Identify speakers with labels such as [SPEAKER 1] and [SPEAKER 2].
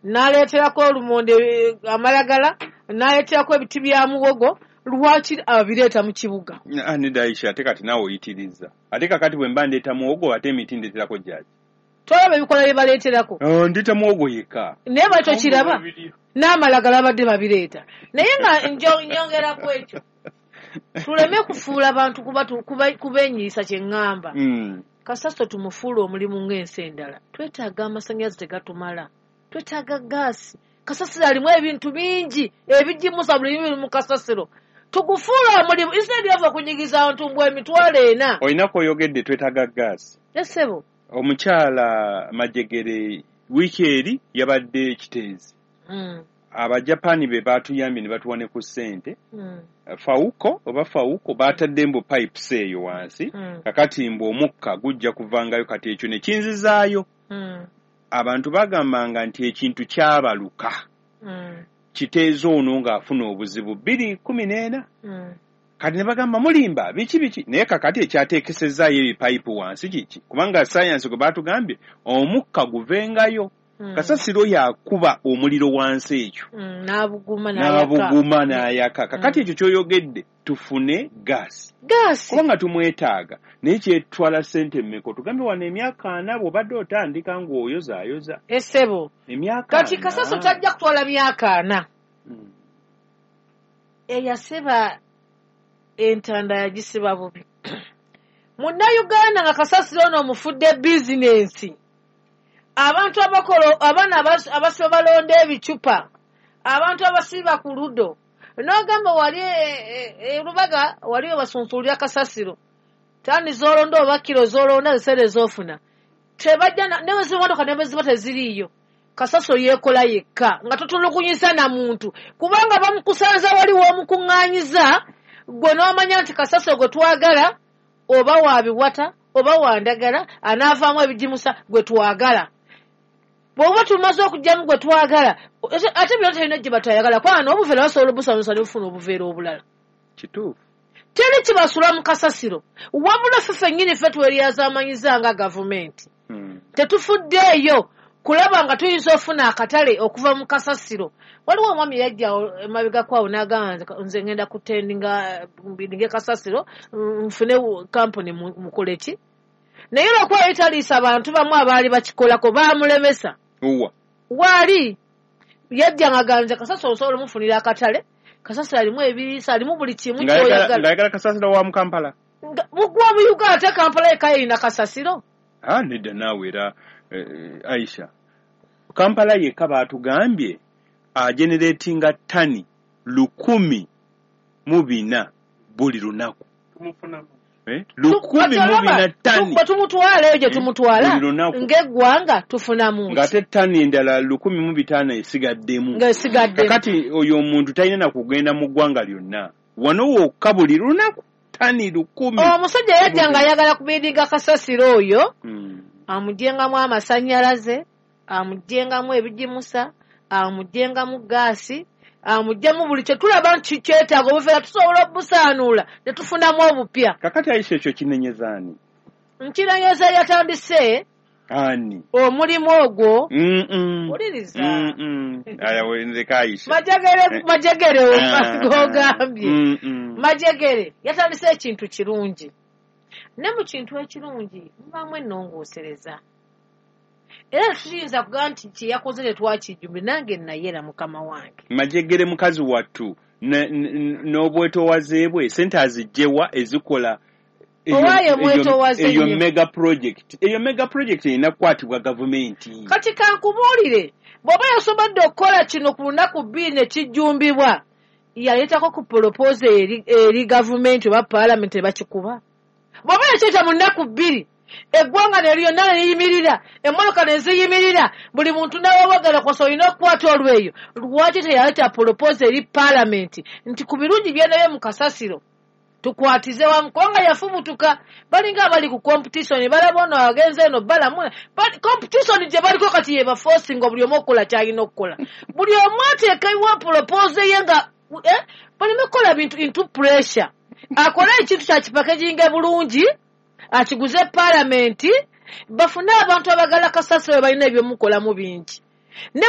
[SPEAKER 1] N'aleeterako olumonde, amalagala, n'aleeterako ebiti bya muwogo. Lwaki abireeta mu kibuga?
[SPEAKER 2] Ah, nedda Aisha, ate kati naawe oyitiriza. Ate kakati bwe mba ndeeta muwogo, ate emiti ndeeterako jjaaji?
[SPEAKER 1] Tolaba ebikola bye baleeterako?
[SPEAKER 2] Oh, ndeeta muwogo yekka.
[SPEAKER 1] Naye bali tokiraba n'amalagala babadde babireeta. Naye nga nyongeraku ekyo, tuleme kufuula bantu kubenyiisa kye ŋŋamba. Kasasiro tumufuule omulimu ng'ensi endala. Twetaaga amasannyalaze, tegatumala. Twetaaga gaasi. Kasasiro alimu ebintu bingi ebigimusa, buli biri mu kasasiro. Tugufuule omulimu instead of okunyigiza abantu mbw 40,000.
[SPEAKER 2] Olina kw'oyogedde, twetaaga gaasi.
[SPEAKER 1] Essebo.
[SPEAKER 2] Omukyala Majegere wiiki eri yabadde Kiteezi. Abajapaani be baatuyambye ne batuwa ne ku ssente. Fawuko oba Fawuko baatadde mbu pipes eyo wansi. Kakati mbu omukka gujja kuvangayo. Kati ekyo ne kinzizaayo. Abantu bagambanga nti ekintu kyabaluka. Kiteezi ono ng'afuna obuzibu 2014. Kati ne bagamba mulimba, biki biki, naye kakati ekyateekesezaayo ebipayipu wansi kiki? Kubanga sayansi gwe baatugambye omukka guvengayo. Kasasiro yakuba omuliro wansi ekyo.
[SPEAKER 1] N'abuguma n'ayaka.
[SPEAKER 2] N'abuguma n'ayaka. Kakati ekyo ky'oyogedde, tufune gaasi.
[SPEAKER 1] Gaasi.
[SPEAKER 2] Kubanga tumwetaaga, naye kyetwala ssente mmeka? Tugambe wano emyaka 40 bw'obadde otandika ng'oyozaayoza.
[SPEAKER 1] Essebo.
[SPEAKER 2] Emyaka
[SPEAKER 1] Kati
[SPEAKER 2] 40.
[SPEAKER 1] Kasasiro tajja kutwala myaka 40. Eyasiba entanda yagisiba bubi. Munnayuganda nga kasasiro ono omufudde bizinensi. Abantu abakola, abaana abasiba balonda ebicupa, abantu abasiba ku ludo. N'ogamba wali e Lubaga wali we basunsulira kasasiro. Tani z'olonda oba kiro z'olonda zisere z'ofuna. Tebajja ne bwe ziba motoka ne bwe ziba teziriiyo. Kasasiro yeekola yekka nga totulugunyisa na muntu, kubanga bamukusanza wali w'omukuŋŋaanyiza gwe n'omanya nti kasasiro gwe twagala oba wa biwata oba wa ndagala anaavaamu ebigimusa gwe twagala. Bw'oba tumaze okuggyamu gwe twagala, ate byonna terina gye batayagala, kubanga n'obuveera basobola obusanusa ne bufuna obuveera obulala.
[SPEAKER 2] Kituufu.
[SPEAKER 1] Teri kibasula mu kasasiro, wabula ffe ffennyini ffe tweryazamanyiza nga gavumenti. Tetufuddeeyo kulaba nga tuyinza ofuna akatale okuva mu kasasiro. Waliwo omwami yajja emabegako awo n'agamba, nze ngenda kutendinga mbidinge kasasiro, nfune kampuni mukole ki, naye olwokuba yali taliisa bantu bamu abaali bakikolako, baamulemesa.
[SPEAKER 2] Uwa.
[SPEAKER 1] Waali yajja nga ganze kasasiro osobola omufunira akatale. Kasasiro alimu ebiriisa, alimu buli kimu kyoyagala.
[SPEAKER 2] Ng'ayagala kasasiro wa mu Kampala?
[SPEAKER 1] Mugwa mu Uganda, ate Kampala yekka yerina kasasiro?
[SPEAKER 2] Ah, nedda naawe era Aisha, Kampala yekka baatugambye ageneratinga tani 1,004 buli lunaku.
[SPEAKER 3] Tumufunamu.
[SPEAKER 2] Eh? 1,004 tani.
[SPEAKER 1] Bwe tumutwala eyo gye tumutwala
[SPEAKER 2] Buli lunaku.
[SPEAKER 1] ng'eggwanga tufunamu ki?
[SPEAKER 2] Ng'ate tani endala 1,500 esigaddemu.
[SPEAKER 1] Ng'esigaddemu.
[SPEAKER 2] Kakati oyo omuntu talina na kugenda mu ggwanga lyonna, wano wokka buli lunaku tani 1000.
[SPEAKER 1] Omusajja yajja ng'ayagala kubidinga kasasiro oyo amugyengamu amasannyalaze, amugyengamu ebigimusa, amugyengamu gaasi, amuggyemu buli kye tulaba nti kyetaaga. Obuveera tusobola obusaanuula ne tufunamu obupya.
[SPEAKER 2] Kakati Aisha, ekyo kinenyeza ani?
[SPEAKER 1] Nkirenyeza yatandise
[SPEAKER 2] Ani?
[SPEAKER 1] omulimu ogwo. Wuliriza.
[SPEAKER 2] Aya, ndeka Aisha.
[SPEAKER 1] Majegere, Majegere gogambye. Majegere yatandise ekintu kirungi, ne mu kintu ekirungi mubaamu ennongoosereza, era tuyinza kugamba nti kyeyakoze tetwakijjumbi. Nange nayera mukama wange.
[SPEAKER 2] Majegere mukazi wattu n'obwetowaze bwe, sente azigyewa ezikola
[SPEAKER 1] Owaaye mwetowaze
[SPEAKER 2] eyo
[SPEAKER 1] nnyo.
[SPEAKER 2] mega project? Eyo mega project erina kukwatibwa gavumenti.
[SPEAKER 1] Kati kankubuulire, bw'oba yasobodde okukola kino ku lunaku 2 ne kijjumbibwa, yaleetako ku proposal eri gavumenti oba paalamenti ne bakikuba? Bw'oba yakyeta mu nnaku 2, eggwanga ne lyonna ne liyimirira, emmotoka ne ziyimirira, buli muntu n'awabagala kosa olina okukwata olweyo, lwaki teyaleeta proposal eri paalamenti nti ku birungi byendabye mu kasasiro tukwatize wamu? Kubanga yafubutuka, balinga abali ku competition, balaba ono agenze eno balamu. Competition gye baliko kati yebaforcinga buli omu okukola kyalina okukola, buli omu ateekewo proposal ye nga baleme kukola bintu into pressure. Akole ekintu kyakipakeginga bulungi, akiguze paalamenti, bafune abantu abagala kasasiro, balina ebyomukolamu bingi ne